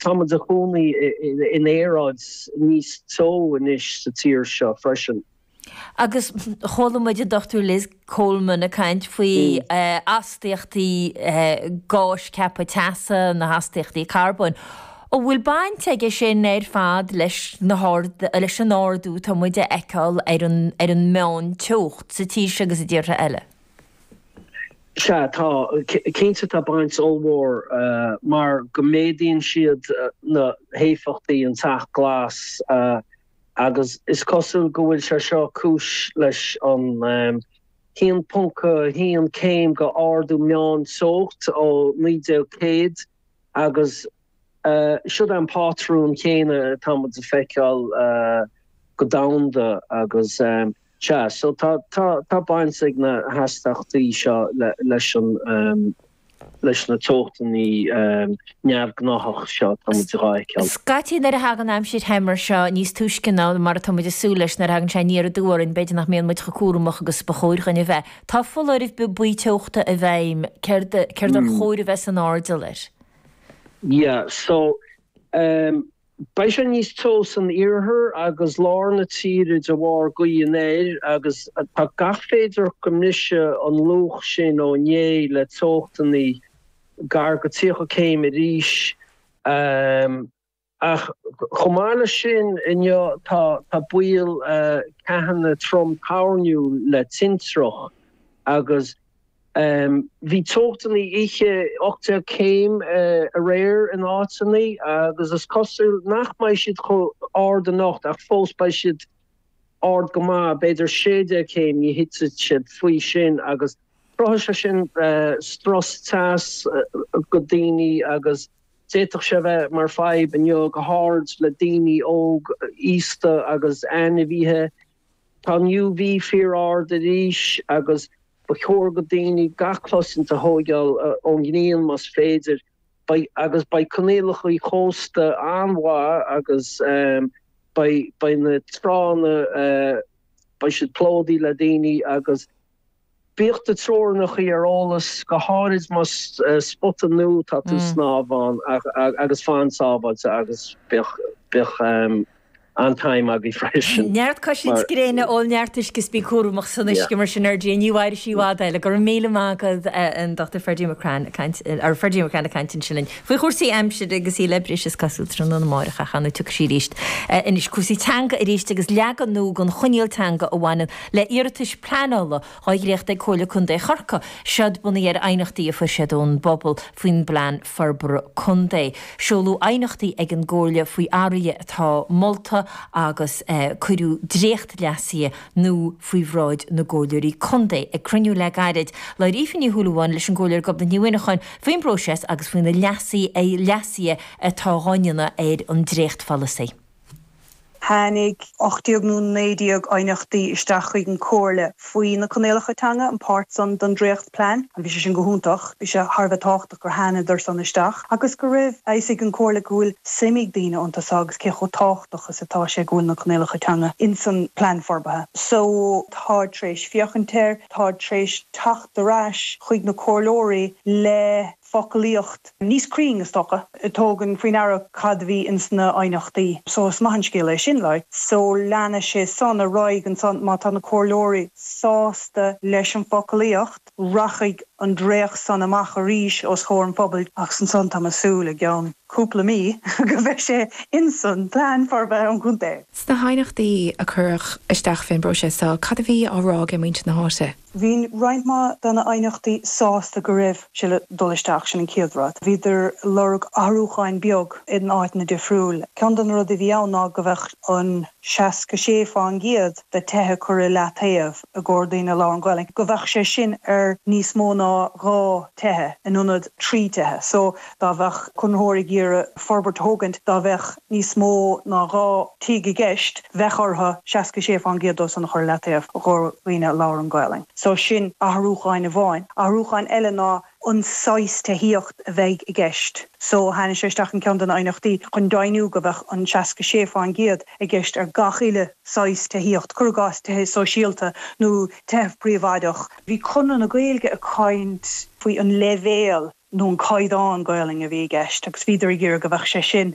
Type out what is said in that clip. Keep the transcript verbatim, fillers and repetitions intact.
Táimid ag cónaí in aeráid níos teo anois sa tír seo freisin. Agus chuala muid an Dr Liz Coleman ag caint faoi mm. astaíochtaí gáis ceaptha teasa na hastaíochtaí carbóin. An bhfuil baint aige sin ar fad leis na leis an ardú tá muid a fheiceáil ar an ar an meán teocht sa tír agus i dtíortha eile. Sea tá cinnte tá baint ollmhór uh, mar go méadaíonn siad uh, na héifeachtaí an teach glas uh, agus is cosúil go bhfuil sé seo cúis leis an um, haon ponc haon céim go ardú meán teocht ó naoi déag céad agus uh, seo an patrún céanna tá muid a feiceáil uh, go domhanda agus um, sea so tá tá tá baint ag na hastaíochtaí seo le, leis an um, leis na teochtanna um, neamhghnách seo tá muid a fheiceáil. Scaití nuair a thagann aimsir the mar seo níos túisce ná mar atá muid ag súil leis nuair a thagann sé aniar aduaidh orainn b'fhéidir nach mbíonn muid chomh cúramach agus ba chóir dúinn a bheith. Tá foláireamh buí teochta i bhfeidhm céard céard ar mm. chóir a bheith san airdeall air. Yeah, so um, Beidh sé níos teo san iarthar agus lár na tíre de bharr gaoth anoir agus tá gach féidir go mbrisfidh an luach sin ó inné le teochtanna gar go tríocha céim arís um, ach chomh maith leis sin inniu tá tá baol uh, ceathanna trom toirniúil le tintreach agus Um, bhí teochtanna oíche ocht déag céim uh, aréir in áiteanna agus is cosúil nach mbeidh siad chomh hard anocht ach fós beidh siad ard go maith b'fhéidir sé déag céim ní thitfidh siad faoi sin agus cruthóidh sé sin uh, strus teas uh, go daoine agus d'fhéadfadh sé bheith mar fadhb inniu go háirid le daoine óg aosta agus ainmhithe Tá UV fíor-ard arís agus ba chóir go daoine gach cosaint a thógáil ón ngrian más féidir agus beidh coinníollacha cósta an-mhaith agus um, beidh na tránna uh, beidh siad plódaithe le daoine agus bíodh na treoracha ar eolas go háirid más uh, spota nua tá tú mm. snámh ann agus fan sábháilte agus bíodh bíodh um, an-time agaibh freisin. Neart cosaint gréine ól neart uisce is bí cúramach san uisce mar sin ar dé ní mhairfidh sí i bhfad eile go raibh míle maith agat an Dr. Ferdy McCrann ar Ferdy McCrann ag caint ansin faoi chúrsaí aimsire agus í le briseadh is cosúil tráthnóna amárach a chanú tugann sí arís. Anois cúrsaí teanga arís agus leagan nua den choinníoll teanga a bhaineann le hiarratais pleanála á dhréachtú ag Comhairle Contae Chorcaí siad bunaithe ar aighneachtaí a fuair siad ón bpobal faoin bplean forbartha contae. Seoladh aighneachtaí ag an gComhairle faoi athruithe atá molta agus eh, cuireadh dréacht leasaithe nua faoi bhráid na gcomhairleoirí contae ag cruinniú le gairid labhair Aoife Ní Shúilleabháin leis an gComhairleoir Gobnait Ní Mhuineacháin faoin bpróiseas agus faoi na leasuithe atá á ndéanamh ar an dréachtpholasaí. Tháinig ocht déag nó naoi déag aighneachtaí isteach chuig an Chomhairle faoi na coinníollacha teanga an páirt san den dréachtphlean, an bhí sé sin go hiontach, bhí sé thar a bheith tábhachtach gur thánadar san isteach, agus go raibh a fhios ag an Chomhairle go bhfuil suim ag daoine iontu agus cé chomh tábhachtach is atá sé go bhfuil na coinníollacha teanga in san plean forbartha. So tá tar éis féachaint air, tá tar éis teacht ar ais chuig na comhairleoirí le foclaíocht níos cruinne is dócha a thugann faoi deara cad a bhí insna haighneachtaí. So is maith an scéal é sin le. So leanfaidh sé san ar aghaidh ansan má tá na comhairleoirí sásta leis an foclaíocht, rachaidh an dréacht san amach arís os comhair an phobail ach ansan tá mé ag súil i gceann cúpla mí go mbeidh sé insan plean forbartha an chontae. Sna haighneachtaí a cuireadh isteach faoin bpróiseas seo, cad a bhí á rá ag muintir na háite? Bhí roinnt mhaith de na haighneachtaí sásta go raibh sé le dul isteach sin an chéad rud. Bhíodar ag lorg athrúcháin beag in áiteanna difriúil. Ceann de na rudaí a bhí ann ná go bheadh an seasca sé faoin gcéad de tithe curtha le taobh i gcomhair daoine a labhrann Gaeilge, go bheadh sé sin ar níos mó ná dhá tithe in ionad trí tithe. So dá bheadh conraitheoir ag iarraidh forbairt a thógaint dá bheadh níos mó ná dhá tigh i gceist, bheadh orthu seasca sé faoin gcéad dó san a chur le taobh i gcomhair daoine a labhrann Gaeilge. So sin athrúcháin amháin. Athrúcháin eile ná an saghas tithíocht a bheidh i gceist. So tháinig sé isteach in ceann de na haighneachtaí chun deimhniú go bheadh an seasca sé faoin gcéad i gceist ar gach uile saghas tithíocht, cuir i gcás tithe sóisialta nó tithe príobháideach. Bhí Conradh na Gaeilge ag caint faoi an leibhéal nó an caighdeán Gaelainne a bhí i gceist agus bhíodar ag iarraidh go bheadh sé sin